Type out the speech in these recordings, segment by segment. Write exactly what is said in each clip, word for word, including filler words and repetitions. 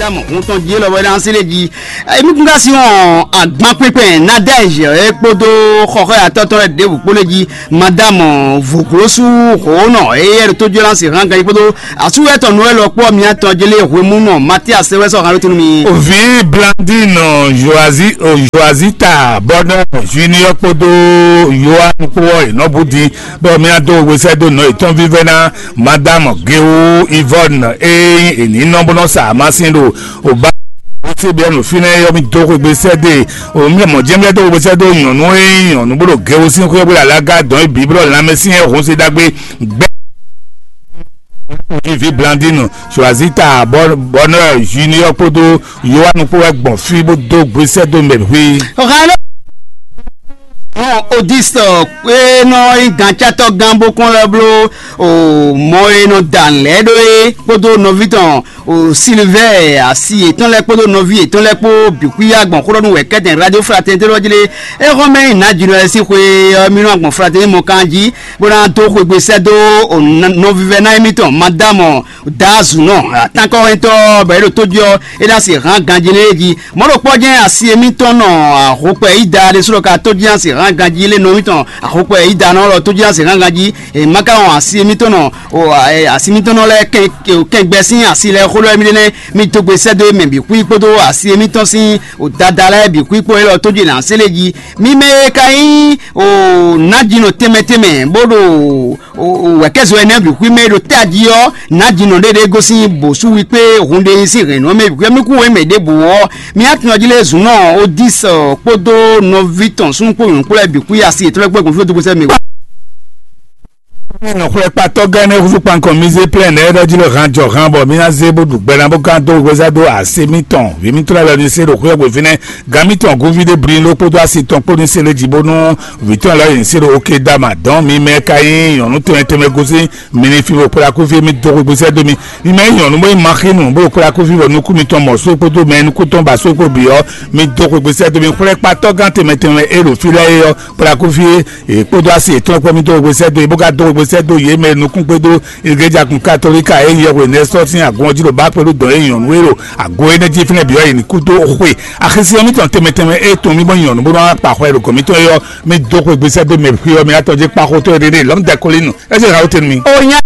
Madame hun tɔn jí lɔbɔ ná se lé jí. Emi kun ka si wɔn agban kpekpɛn Nadège e kpódó xɔxɔ atɔtɔ lɛ ɖěbǔ kpó lé jí. Madame Voglosu Honɔ eye ɖo tójú lánsi hàn gan kpódó asúwɛtɔ Noël kpó miatɔ jélé hwemúnɔ Mathias wɛ sɔ hàn lótinu mi. Ovi Blandine Joazi Joazita Bonheur Junior kpódó Yohan kpó ɔ ìnɔbùdí bɔ miado wesɛdó nɔ ìtɔn vívɛ́ ná Madame Geo Yvonne e nyí ènǐ nɔ bó nɔ sa amasin ɖo òbá. Ó sì bɛ́ nǔ fínɛ́ yɔ mì dó xwegbe sɛ́ dó e òun mì mɔ̌ jɛ́n bɛ́ dó xwegbe sɛ́ dó nyɔ̌nu e nyí nyɔ̌nu bó ɖo gɛwo sín xwé bó ɖo alága dɔn é bǐ bó ɖo lanmɛ sín yɛ hun se ɖagbe gbɛ. Vivi Blandine Suazita Bonheur Junior kpódó Yohanu kpó wɛ gbɔn fí bó dó gbe sɛ́ dó mɛ xwé. Ọ̀gá ló hɔn Odisɔ e nɔ nyí gǎncátɔ́ gán bó kɔn lɛ́ bló o mɔ e nɔ da nǔ lɛ́ɛ ɖó é kpódó nɔví tɔn o Silivɛ́ɛ asi yětɔn lɛ́ɛ kpódó nɔví yětɔn lɛ́ɛ kpó bǐ xwíyá gbɔn xó ɖɔ nú wɛ̌kɛ́tɛn Radio Fraternité lɔ jí lé. É xɔ́n mɛ nyi nǎ jǐnɔ lɛ́ɛ sín xwe ɔ́, mì nɔ gbɔn Fraternité mɔ kan jí bó ná dó xwegbe sɛ́ dó o nɔvívɛ́ná émítɔn Madámɔ Daazunɔ atánkɔ́hɛntɔ́ bɔ é ɖo tójí ɔ́, é ná se hǎn ganjí nú é jí. Mɔ̌ ɖokpɔ́ jɛ́n asi émítɔn nɔ ahokpɛ yí da ɖésú ɖɔ ka tójí ná se hǎn ganjí lé nɔ émítɔn ahokpɛ yí da nɔ lɔ tójí ná se hǎn ganjí. È má ka wɔn asi émítɔn nɔ o asi émítɔn nɔ lɛ́ɛ kɛn kɛngbɛ sín asi lɛ́ɛ xó lɛ́ɛ mì ɖe nɛ́ mì dó gbe sɛ́ dó mɛ bǐ xwí kpódó asi émítɔn sín o dada lɛ́ɛ bǐ xwí kpó élɔ́ tójí ná se lé jí. Mi mɛ e ka nyí o nǎjínɔ tɛnmɛ tɛnmɛ bó ɖo wɛ̌kɛ́zɔ ɛnɛ bǐ xwí mɛ e ɖo tají ɔ́, nǎjínɔ ɖé ɖé gosín bǒsúwi kpé hun ɖé nyí sín hɛ̌nnu ɔ́ mɛ bǐ xwí mì kú wěmɛ ɖěbǔ ɔ́, mì atún ɔ́ jí lé zǔn nɔ Odis kpódó nɔví tɔn súnnu kpó nyɔ̌nu kplɔ́ bǐ xwí asi yětɔn lɛ́ɛ kpó gbɔn fí dó gbèsè mɛ. Nɔxwlɛ́kpatɔ́ gán énɛ́ húzú kpankɔ mi zé plɛ́n nɛ́ ɖɔ jí lɔ han jɔ han bɔ mi ná zé bó ɖu gbɛ ná bó gán dó wezá dó ase mitɔn vǐ mitɔn lɛ́ɛ lɔ ní se ɖo xwé ɔ́ gbe fínɛ́. Gǎn mǐtɔn Gúvídé Brinló kpódó asi tɔn kpó ní se lé jí bónú vǐ tɔn lɛ́ɛ nyi sí ɖo Okedama dɔn mi mɛ ka nyí nyɔ̌nu tɛnmɛ tɛnmɛ gosín mi ní fí bó kplá kúfí mi dó xwé gbésɛ dó mi. Mi mɛ nyí nyɔ̌nu bó nyí Maxínu bó kplá kúfí bɔ nukún mitɔn mɔ só kpódó mɛ nukún tɔn ba só kpó bǐ ɔ́, mi dó xwé gbésɛ dó mi. Xwlɛ́kpatɔ́ gán tɛnmɛ tɛnmɛ e ɖo fí lɛ́ɛ é ɔ́, kplá kúfí e kpódó asi yětɔn kpó mi dó xwé gbésɛ dó yě bó ka dó xwé gbésɛ dó yě mɛ nukún kpódó Igreja kun Katolika e nyí yɛhwe nɛ́ sɔ́ sín agun ɔ́ jí ɖo bǎ kpé ɖó dɔ̌n e nyɔ̌nu e ɖo ago énɛ́ jí fínɛ́ bǐ ɔ́ yi ní kú dó xwe axisí ɔ́ mítɔn tɛnmɛ tɛnmɛ e tun mì bɔ nyɔ̌nu bó nɔ́ wá kpa xwɛ ɖo gɔ̌n mítɔn é ɔ́, mì dó xwe gbèsè dó mɛ xwé ɔ́, mi ná tɔ́ jɛ kpa xotɔ́ e ɖe ɖe lɔ̌m dɛ kolínu. É jɛ ha tɛnu mi. O nya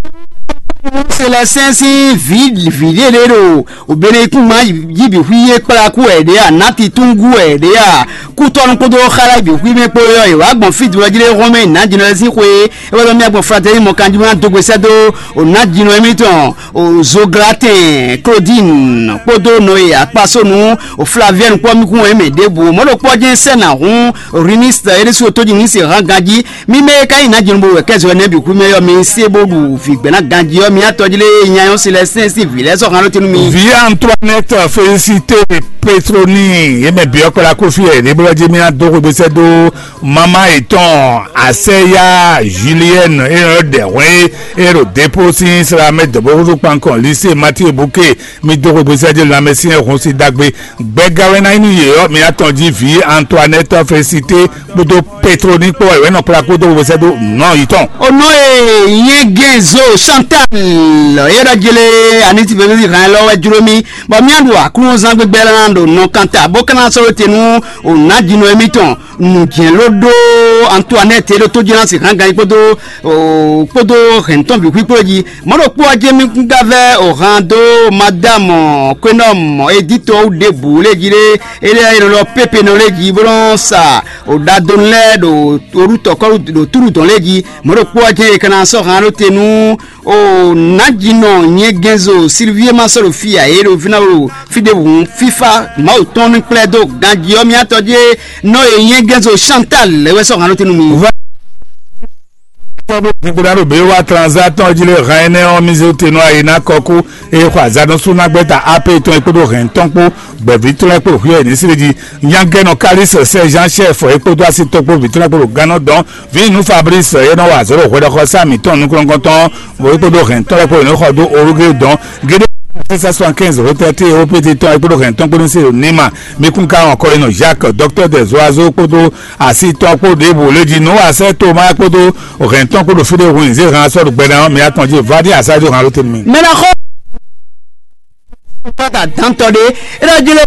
se lɛ sɛn sín vǐ vǐ ɖé ɖé ɖo o bene ikún ma yí bǐ xwí yé kplá kú wɛ ɖé a nǎ titúngú wɛ ɖé a kútɔ́nú kpódó xálá bǐ xwí mɛ kpó yɔ è wǎ gbɔn fí dulɔ jí ɖé hɔn mɛ nǎ jínɔ lɛ́ɛ sín xwe é wɛ ɖɔ mì agbɔn fratɛ́ni mɔkanjúmɔ́ dó gbèsè dó o nǎ jínɔ émítɔn o Zoglatɛn Claudine kpódó nɔ e akpasónu o Flavienne kpɔ́ mì kún wɛ mɛ ɖěbǔ mɔ̌ ɖo kpɔ́ jɛ́n sɛ́ nǎ hún Riniste é ɖésú tójí ní se hán ganjí. Mi mɛ e ka nyí nǎ jínɔ bó wɛ kɛ́ zɔ énɛ́ bǐ kú mɛ ɔ́, mi se bó ɖu vǐgbɛ́ná ganjí ɔ́, mi atɔ́ jí lé nya nyɔ́ si lɛ́ɛ sɛ́n sín vǐ lɛ́ɛ sɔ́ hán ɖó tɛ́nú mi. Vǐ Antoinette Félicité Petroni yě mɛ bǐ ɔ́ kplá kó fí wɛ ɖěblɔ́ jí mì ná dó xwégbésɛ dó mama yětɔn Asɛya Julienne e nɔ ɖɛ hwɛn é e ɖo Depo sín Slamɛ dɔ̌bɔ́xúxú kpankɔn Lycée Mathieu Bouquet. Mi dó xwégbésɛ jí lanmɛsyɛn hun sí ɖagbe. Gbɛgawɛná nyí nú yě ɔ́, mi atɔn jí vǐ Antoinette Félicité kpódó Petroni kpó wɛ nɔ kplá kpódó xwégbésɛ dó nɔ yětɔn. Ono e nyɛ gɛnzo Chantal e ɖɔ jele aniti bebezi hàn lɔ wɛ jló mi bɔ mía ɖu aklúnɔzán gbígbɛ lɛ́ɛ ná ɖo nɔ kanta bó ka ná sɔ́ te nú o nǎjínɔ émítɔn nǔjɛ́n ló ɖó Antoinette e ɖo tó jɛ́n ná sixán gan kpódó o kpódó hɛ̌ntɔn bǐ xwíkpó jí. Mɔ̌ ɖokpó ɔ́ jɛ́n mì kún ka vɛ́ o han dó Madame Quénum Edith ɔ́ wú ɖěbǔ lé jí ɖé, éɖée e nɔ ɖɔ pépé nɔ lé jí bó nɔ́ sa o ɖadonu lɛ́ɛ ɖo orútɔkɔ́ ɖo túɖu dɔn lé jí. Mɔ̌ ɖokpó ɔ́ jɛ́n è ka ná sɔ́ han ɖó te nú O nǎjínɔ nyɛgɛnzo Silvie ma sɔ́ ɖo fí ǎ, é ɖo fínɛ́ ɖo fí ɖěbǔ hǔn fífá Mawu tɔn ní kplɛ́ dó ganjí ɔ́, mì atɔ́ jí nɔ e nyɛgɛnzo Chantal lɛ́ wɛ sɔ́ hǎn ɖó te nú mi. Kpɔ́ bó gbogbo ɖo bě wá transa tɔn jí lé hɛn énɛ́ ɔ́, mì zé te nɔ ayi ná kɔkú, eye xɔ azǎn nú súnágbɛ́ta A P tɔn e kpódó hɛn tɔn kpó gbɛ̌ví tɔn lɛ́ɛ kpó hwíɛ ní sí jí. Nyagɛnɔ Kalísɛ sɛ́ Jean Chef e kpódó así tɔn kpó vǐ tɔn lɛ́ɛ kpó ɖo gannɔ dɔn. Vǐ nǔ Fablísi e nɔ wa azɔ̌ ɖo hwɛɖɔxɔsá mǐtɔn nukúnnukɔntɔn ɔ́, bɔ é kpódó hɛ̌ntɔn lɛ́ɛ kpó è nɔ xɔ dó Olugé dɔn géɖé sɛ́n cent soixante-quinze retraité O P T tɔn é kpódó hɛ̌ntɔn kpó ní se ɖo Nima. Mi kún ka wɔn kɔlínɔ Jacques, docteur des oiseaux kpódó asi tɔn kpó ɖěbǔ lé jí nǔ wa sɛ́ Toma kpódó hɛ̌ntɔn kpó ɖo fí ɖé hun zé han sɔ́ ɖo gbɛɖe ɔ́, mi atɔn jí vá ɖí asá jó han ló tɛ́ mi. Mɛ ná xɔ Pata dantɔ ɖé, é ɖɔ jí lé.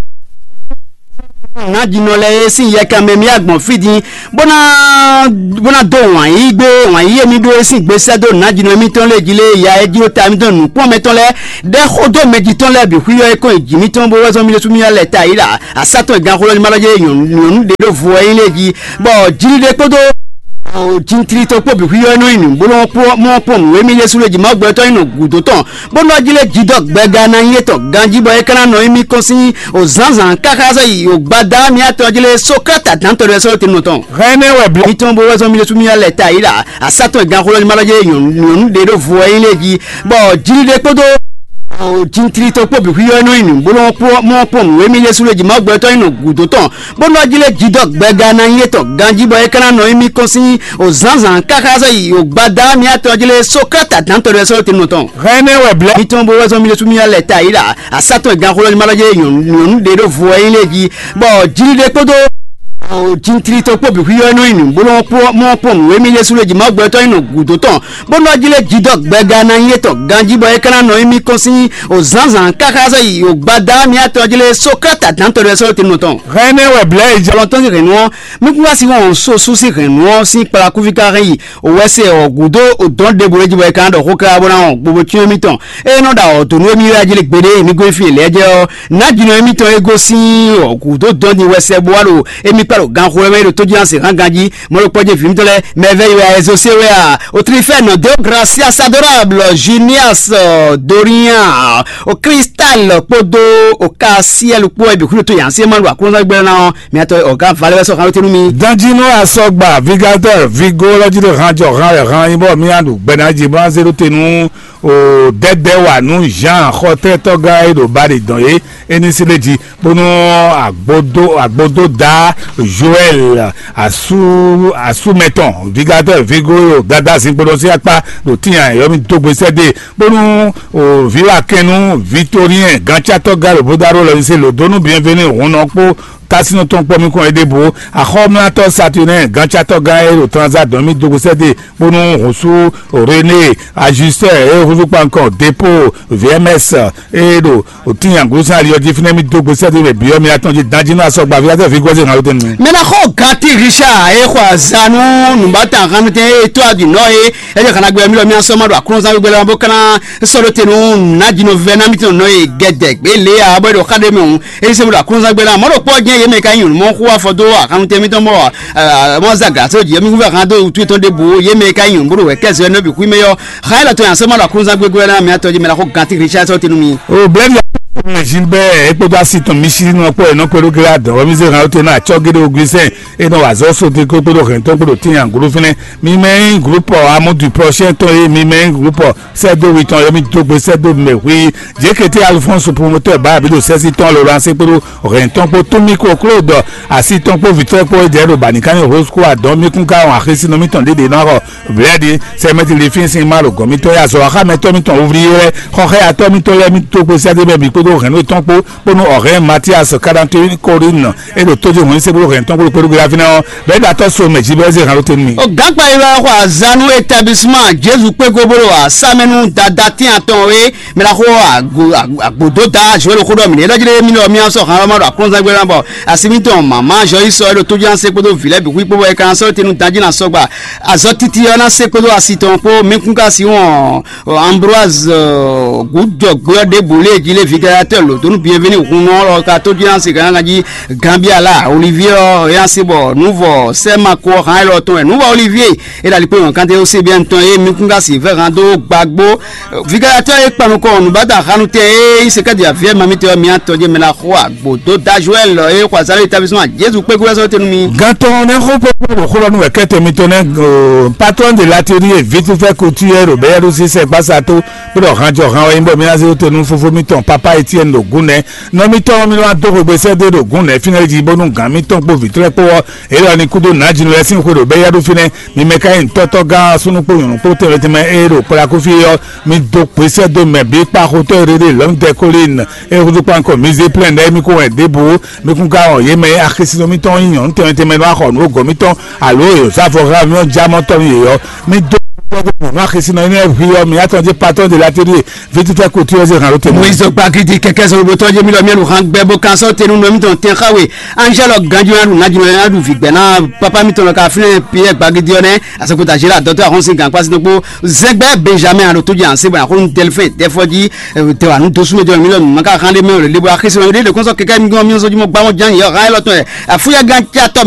Nǎjínɔ lɛ́ɛ e sín yɛkan mɛ mì agbɔn fí din, bó ná bó ná dó wǎn yí gbé, wǎn yí e mì ɖó e sín gbe sɛ́ dó nǎjínɔ émítɔn lɛ́ɛ jí lé, ya e jló ta émítɔn nǔkplɔ́nmɛtɔn lɛ́ɛ ɖɛ́ xó dó mɛ jitɔ́ lɛ́ɛ bǐ xwíyɔ́ e kɔn nyi jǐ mítɔn bó wɛ zɔ́n mí ɖésú mí lɛ́ ta yí ɖa asátɔ́ e ganxolɔ ní ma lɔ jɛ nyɔ̌nu ɖě ɖo vo ɔ́ nyí lɛ́ɛ jí, bɔ jǐɖiɖe kpódó jintlitɔ kpó bǐ xwíyɔ́ nɔ nyi nǔ bó nɔ kpɔ́n mɔ kpɔ́n nǔ e mí ɖésú lé jí Mawu gbɛtɔ́ nyí nɔ gǔdo tɔn, bó nɔ jí lé jidɔ́ gbɛga ná nyí étɔn ganjí bɔ é ka ná nɔ nyi mì kɔn sín o zǎnzǎn káká sɔ́ yi o gbadá mì atɔn jí lé Sókrate adǎntɔ́ ɖé sɔ́ tɛnumɔ tɔn. Hɛn nɛ́ wɛ blɛ́. Mítɔn bó wɛ zɔ́n mí ɖésú mì lɛ́ ta yí ɖa asátɔ́ e ganxolɔ ní ma lɔ jɛ nyɔ̌nu ɖě ɖo vo ɔ́ nyí lɛ́ɛ jí, bɔ jǐɖiɖe kpódó jintlitɔ kpó bǐ xwíyɔ́ nɔ nyi nǔ bó nɔ kpɔ́n mɔ kpɔ́n nǔ e mí ɖésú lé jí Mawu gbɛtɔ́ nyí nɔ gǔdo tɔn, bó nɔ jí lé jidɔ́ gbɛga ná nyí étɔn ganjí bɔ é ka ná nɔ nyi mì kɔn sín o zǎnzǎn káká sɔ́ yi o gbadá mì atɔn jí lé Sókrate adǎntɔ́ ɖé sɔ́ tɛnumɔ tɔn. Hɛn nɛ́ wɛ blɛ́. Mítɔn bó wɛ zɔ́n mí ɖésú mì lɛ́ ta yí ɖa asátɔ́ e ganxolɔ ní ma lɔ jɛ nyɔ̌nu ɖě ɖo vo ɔ́ nyí lɛ́ɛ jí, bɔ jǐɖiɖe kpódó jintlitɔ kpó bǐ xwíyɔ́ nɔ nyi nǔ bó nɔ kpɔ́n mɔ kpɔ́n nǔ e mí ɖésú lé jí Mawu gbɛtɔ́ nyí nɔ gǔdo tɔn, bó nɔ jí lé jidɔ́ gbɛga ná nyí étɔn ganjí bɔ é ka ná nɔ nyi mì kɔn sín o zǎnzǎn káká sɔ́ yi o gbadá mì atɔn jí lé Sókrate adǎntɔ́ ɖé sɔ́ tɛnumɔ tɔn. Hɛn nɛ́ wɛ blɛ́ e jɛ. Ɔlɔntɔn sín hɛ̌nnu ɔ́, mí kún wá sí wɔn so sú sín hɛ̌nnu ɔ́ sín kplakúví ká hɛn yi o wɛ se ɔ́ gúdo o dɔn ɖěbǔ e jí bɔ é ka ná ɖɔ xó káká bó ná wɔn gbogbo cyɔ́n émítɔn. Ée nɔ ɖo awɔ̌ dó nú émí wɛ jí lé gbeɖé, mi gosín lɛ́ɛ jɛ ɔ́, nǎjínɔ émítɔn e gosín ɔ́ gǔdo dɔn din wɛ sɛ bó wá ɖo émí kpá ɖo ganxó lɛ́ɛ mɛ e ɖo tójínásě hán ganjí, mɔ̌ ɖo kpɔ́ jɛ vǐ mitɔn lɛ́ɛ mɛ vɛ́ yi wɛ a Ezosé wɛ a, o Trifɛ́nɔ, Deogracias, Adorable, Junias, Dorian, o Cristal kpódó o Kasiɛlu kpó wɛ bǐ xwíɖó tó yǎnsé ma ɖo aklúnɔ́gbɛ́ ná ɔ́, miatɔ ɔ̌gá valɛ wɛ sɔ́ xan wétɛ́ nú mi. Danjínú asɔgba vigatɛr vigo lɔ jí ɖo han jɔ han wɛ han nyí bɔ mía ɖu gbɛnájí bó ná zé ɖó te nú o dɛdɛ wa nú Jean xɔtɛtɔgán e ɖo Bali dɔn é, é ní sí ɖé jí bónú agbodo agbodo da Joël asu asumɛtɔn vigatɛr vigo yo dada zinkpo ɖo sí akpá ɖo tíyan yɔmi dógbe sɛdé bónú o viwa kɛnnu Victorien gancatɔgán ɖo bódáró lɔ ní sí lòdónú bienvenu hun nɔ kpó tásínú tɔn kpɔ́ mì kɔn é ɖěbǔ. Axɔ́mlátɔ́ Saturnin gancátɔ́ gán e ɖo Transa dɔn mì dó gosɛ́dé bónú hǔnsú René ajustɛ́ e húzú kpankɔ Depo V M S e ɖo òtín aglǔsán ali ɔ́ jí fínɛ́ mì dó gosɛ́dé mɛ bǐ ɔ́ mi atɔn jí danjí nú asɔgba ví azɛ ví gbɔ́zé hǎn lótɛn mi. Mɛ ná xɔ gati Richard e xɔ azanu nǔbata hannutɛn e tó adinɔ e ɛjɔ kana gbɛ mi lɔ mi asɔ ma ɖo aklɔnzán gbɛgbɛ lɛ bó kana sɔ́ ɖó te nú nǎjínɔ vɛ ná mítɔn nɔ e gɛdɛ gbé lě a bɔ é ɖo xa ɖé mɛ hǔn. Ényí sɛ́n bó ɖo aklúnɔzán gbé ná, mɔ̌ ɖokpó ɔ́ jɛ́n yě mɛ ka nyí nyɔ̌nu mɔ xó afɔ dó axannutɛn mítɔn mɔ mɔ zagla só jǐ mí húnfɛ hán dó wútu yětɔn ɖěbǔ yě mɛ ka nyí nyɔ̌nu bó ɖo wɛ̌kɛ́zɔ ɔ́ nɔ́ bǐ xwí mɛ ɔ́. Xa élɔ́ tɔn nyi asɔ́ ma ɖo aklúnɔzán gbégbé ná mɛ atɔ́ jí mɛ ná xó gantí Richard sɔ́ tɛ́ nú mì. O blɛ́ɖi mɛ Gilbert é kpódó asi tɔn mi sí nɔ kpó ɛ nɔ kpé ɖó gérard ɔ́ mi zé hàn ó te ná acɔ́ géɖé Augustin é nɔ wà zɔ́ sóte kpódó hɛn tɔn kpódó tín aglú fínɛ́. Mi mɛ nyí groupe amour du prochain tɔn é mi mɛ nyí groupe sɛ́dó wi tɔn yɔmí dó gbe sɛ́dó mɛ hui. Jěkété Alphonse promoteur báyà bí ɖo sɛ́sí tɔn lɔlɔ así kpódó hɛn tɔn kpó túnmí kó klódɔ así tɔn kpó vǐtɔ́ kpó é jɛ ɖo bǎníkánní hosco adɔn mí kún ká wɔn axésínɔ mítɔn ɖéɖé ná xɔ blɛ́ɖi sɛmɛtì lè fín sín má ɖo gɔ̌n mítɔn yá zɔ axámɛtɔ́ mítɔn wúvlí lɛ́ xɔxɛ́yatɔ́ mítɔn lɛ́ɛ mí dó gbe sɛ́dó mɛ bǐ kpódó hɛn tɔn kpó kpónú ɔ̀hɛn Mathias Karantoyin Korin é ɖo tójú hɔn ní sébúrú hɛn tɔn kpódó kpódó gbéra fínɛ́ ɔ́ bɛ́ ɖo atɔ́ so mɛ jí bɛ́ zé hàn ló tenu mì. Ó gǎnkpa yi wɛ xɔ azanu établissement Jésus kpégo bó ɖo asámɛnú dada tín atɔn é mɛ la xó agbodó da Joël xó ɖɔ mì ɖé ɖɔjí ɖé mí ɖɔ mí asɔ hàn ɔ́ ma ɖo aklúnzán gbé ná bɔ asi mítɔn mama jɔ yi sɔ é ɖo tójú ná sé kpódó vǐ lɛ́ɛ bǐ xwí kpó bɔ é ka ná sɔ́ tenu danjí ná sɔgba azɔ titi ɔ́ ná sé kpódó asi tɔn kpó mí kún ka si wɔn Ambroise gǔjɔgbé ɔ́ ɖěbǔ lé jí lé vigalatɛ́ lǒdónú bienvenu hun ɔ́ lɔ ka tójú ná se gǎngán jí Gambia la Olivier ɔ́ é ná se bɔ nǔvɔ sɛ́ ma ko ɔ́ hán élɔ́ tɔn wɛ nǔvɔ Olivier é ɖo ali kpé nyɔ̌kánté ó sé bien tɔn é mi kún ka si vɛ́ hán dó gbagbó vigalatɛ́ é kpan nukɔn nǔbáda hannutɛn é nyí sekɛ́dì aviɛ mamitɛ ɔ́ mi atɔn jɛ mɛ ná xo agbǒ dó da Joël é xɔ azalé établissement Jésus kpékú wɛ sɔ́ tɛnu mi. Gantɔ ne xo pɔpɔ ɖo xó lɔ nú wɛ kɛtɛ mitɔn nɛ patron de l'atelier vitufɛ couture ɖo bɛyɛɖo sisɛ gbasa to kpɔɖɔ hanjɔ han wɛ nyibɔ mi na zé to nú fofo mitɔn papa Etienne ɖo gún nɛ nɔ mitɔn mi wá dó xwegbe sɛ dó ɖo gún nɛ fínɛ́ jí bónú gǎn mitɔn kpó vǐtrɛ́ kpó ɔ́ élɔ́ ni kúdó nǎjínú lɛ́ɛ sín xwe ɖo bɛyɛɖo fínɛ́ mi mɛ ka nyí tɔ́tɔ́ gán súnú kpó nyɔ̌nu kpó tɛnmɛ tɛnmɛ é ɖo kplakúfí ɔ́ mi dó kpé sɛ dó mɛ bí kpaxotɔ́ e ɖe ɖe lɔ̌mdɛ kólín é húzú kpánkɔ mi zé plɛ́n ɖɛ́ mi kó wɛ ɖěbǔ mi kún ka wɔn yě mɛ e axisínɔ mitɔn nyí nyɔ̌nu tɛnmɛ tɛnmɛ nɔ axɔ nǔ gɔ̌ mitɔn alo e yǒsáfɔ xá mì ɔ́ já mɔ tɔ́ nú yě ɔ́, mì dó Nɔ axisi nɔ nyɛ hwi ɔ mi atɔn dzi patɔn de la teri vituta kotu ɔze hàn ló tɛ. Moyizo gbagidi kɛkɛ zɔlɔbɔtɔ jɛ mi lɔ miɛnu hàn gbɛ bó kan sɔ tenu nɔ mi tɔn tɛn xawe. Angel ganjɔ yadu nadjɔ yadu vigbɛ na papa mi tɔn lɔ ka finɛ Pierre gbagidi ɔ nɛ. Asɔkota zela dɔtɔ ahɔnsi gan kpasi nɔgbo zɛgbɛ Benjamin alo tó jɛ anse bɔ akɔnu delphin tɛfɔji tɛwanu dosu mɛ jɔ mi lɔ nunaka hàn lé mɛ o lè bo axisi nɔ mi de kɔnsɔ kɛkɛ mi gɔn mi sɔ jumɔ gbamɔ jan yɛ hàn yɛ lɔtɔ yɛ afuya gan tsa tɔ mi.